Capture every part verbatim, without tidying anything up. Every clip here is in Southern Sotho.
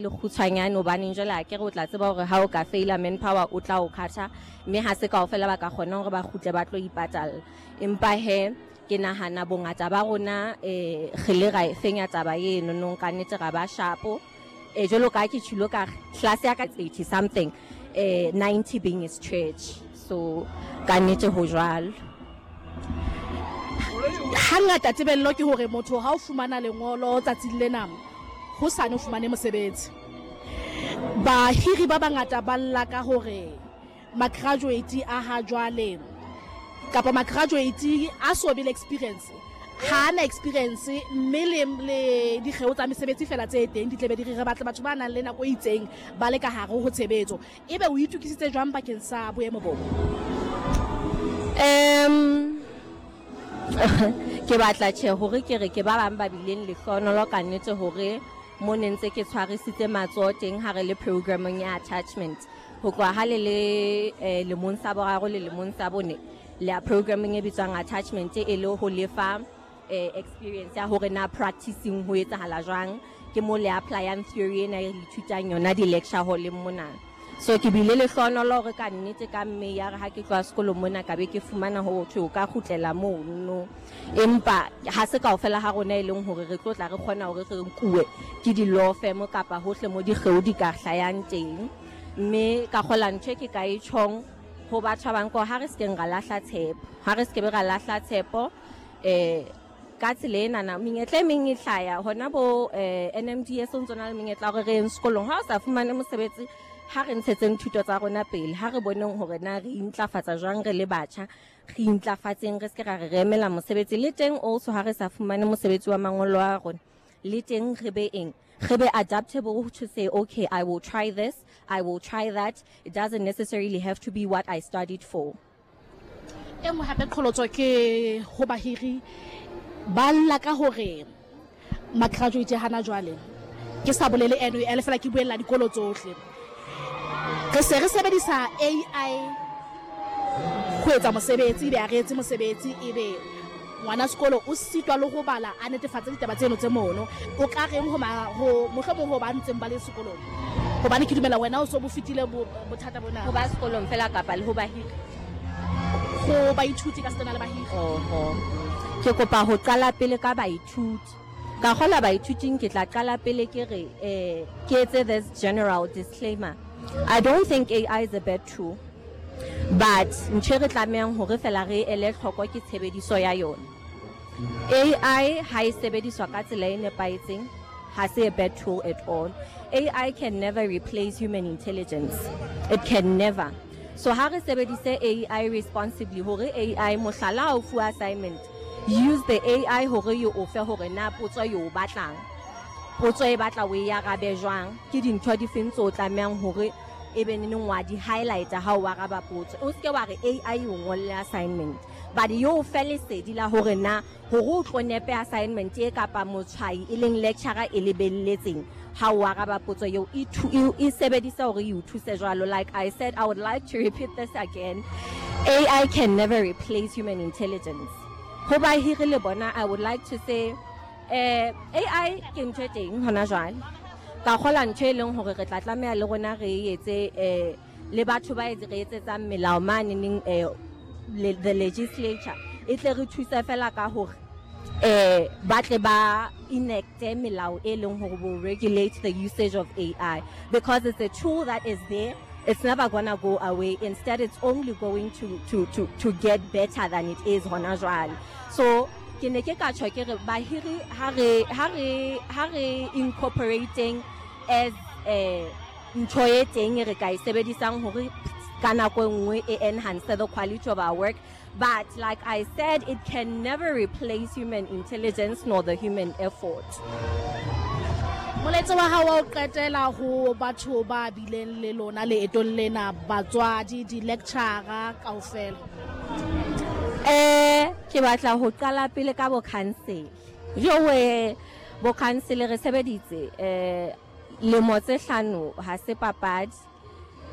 Lekgutshwanyane, hobaneng jwale ha ke re o tla tseba hore ha o ka faila manpower o tla o khatha, mme ha se kaofela ba ka kgona hore ba kgutle ba tlo ipatalla. Empa he ke nahana bongata ba rona um re le ra e fenya taba eno nong, ka nnete ra ba shapo. um jwalo ka ha ke tjhilo ka re class ya ka eighty something, um ninety being is church, so ka nnete ho jwalo. Hangata tebello ke hore motho ha o fumana lengolo tsatsing lena, hosane o fumane mosebetsi. Bahiri ba bangata ba lla ka hore ma-graduate a ha jwale kapa ma-graduate a so be le experience, ha ana experience, mme le le dikgeo tsa mesebetsi fela tse teng di tlebe di re re batle batho ba nang le nako e itseng ba le ka hare ho tshebetso. Ebe o itokisitse jwang bakeng sa boemo bo? um ke batla tjhe hore ke re ke ba bang ba bileng lehlohonolo ka nnete hore mo ne ntse ke tshwarisitse matsoho teng ha re le programming ya attachment ho tloha ha le le eh, lemong sa boraro le lemong sa bone le ya programming e bitswang attachment, e le ho lefa eh, experience ya hore na practicing ho etsahala jwang, ke mo le applyang theory ena e re ithutang yona di-lecture hall-eng mona. So ke bile lehlohonolo hore ka nnete ka mme ya re ha ke tloha sekolong mona, ka be ke fumana ho thwe o ka kgutlela mono. Empa ha se kaofela ha rona e leng hore re tlo tla re kgona hore re nkuwe ke di-law firm kapa hohle mo dikgeo di ka hlayang teng. Mme ka kgola ntho e ke ka e tjhong ho batho ba bang ke hore ha re sekeng ra lahla tshepo, ha re sekebe ra lahla tshepo. um ka tsela enana menyetla e meng e hlaya hona bo um N M D S, o ntso na le menyetla ya hore re yeng sekolong. Ha o sa fumane mosebetsi, ha re ntshetseng thuto tsa rona pele, ha re boneng hore na re intlafatsa jwang re le batjha, re intlafatseng, re seke ra re re emela mosebetsi. Le teng also ha re sa fumane mosebetsi wa mangolo a rona, le teng re be eng, re be adaptable to say, "Okay, I will try this, I will try that." It doesn't necessarily have to be what I studied for. E nngwe hape qholotso ke ho bahiri, ba lla ka hore ma-graduate hana jwale, ke sa bolele N U L fela, ke buella dikolo tsohle, re se re sebedisa A I ho etsa mosebetsi, ebe ha re etse mosebetsi, ebe ngwana sekolo o sitwa le ho bala a netefatse ditaba tseno tse mono. O ka reng ho ma- ho mohlomong ho ba ntseng ba le sekolong, hobane ke dumela wena o so bo fetile bo- bothata bona? Ho ba sekolong fela kapa le ho bahiri? Ho baithuti ka setena le bahiri. Oho, ke kopa ho qala pele ka baithuti. Ka kgola baithuting, ke tla qala pele ke re eh ke etse this general disclaimer: I don't think A I is a bad tool, but ntho e re tlamehang hore fela re ele hloko ke tshebediso ya yona. A I ha e sebediswa ka tsela e nepahetseng, ha se a bad tool at all. A I can never replace human intelligence, it can never. So ha re sebedise A I responsibly, hore A I, mohlala, ha o fuwa assignment, use the A I hore e o fe hore na potso e o batlang, potso e batla o e arabe jwang, ke dintho di feng tse o tlamehang hore e be neneng wa di highlighta ha o araba potso. O seke wa re A I e o ngolle assignment, but yo o fe lesedi la hore na hore o tlo nepe assignment e kapa motshwai e leng lecturer e lebelletseng ha o araba potso eo, e thu- e e sebedisa hore e o thuse jwalo. Like I said, I would like to repeat this again: A I can never replace human intelligence. Ho bahiri le bona, I would like to say eh A I ke ntho e teng hona jwale. Ka kgola ntho e leng hore re tla tlameha le rona re e etse, eh le batho ba etse re etsetsang melao mane neng, eh le, the legislature e tle re thuse fela ka hore eh ba tle ba enacte melao e leng hore will regulate the usage of A I, because it's a tool that is there, it's never gonna go away. Instead, it's only going to to to to get better than it is hona jwale. So ke ne ke ka tjho ke re bahiri, ha re ha re ha re incorporating as eh ntho e teng e re ka e sebedisang hore ka nako e nngwe e enhance the quality of our work. But like I said, it can never replace human intelligence nor the human effort. Molaetsa wa hao wa ho qetela ho batho ba bileng le lona leetong lena, batswadi, di-lecturer kaofela? Eh ke batla ho qala pele ka bo council. Jowe, bo council, re sebeditse eh lemo tse hlano, ha se papadi,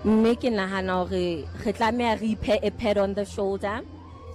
mme ke nahana hore re tlameha re iphe a pat on the shoulder.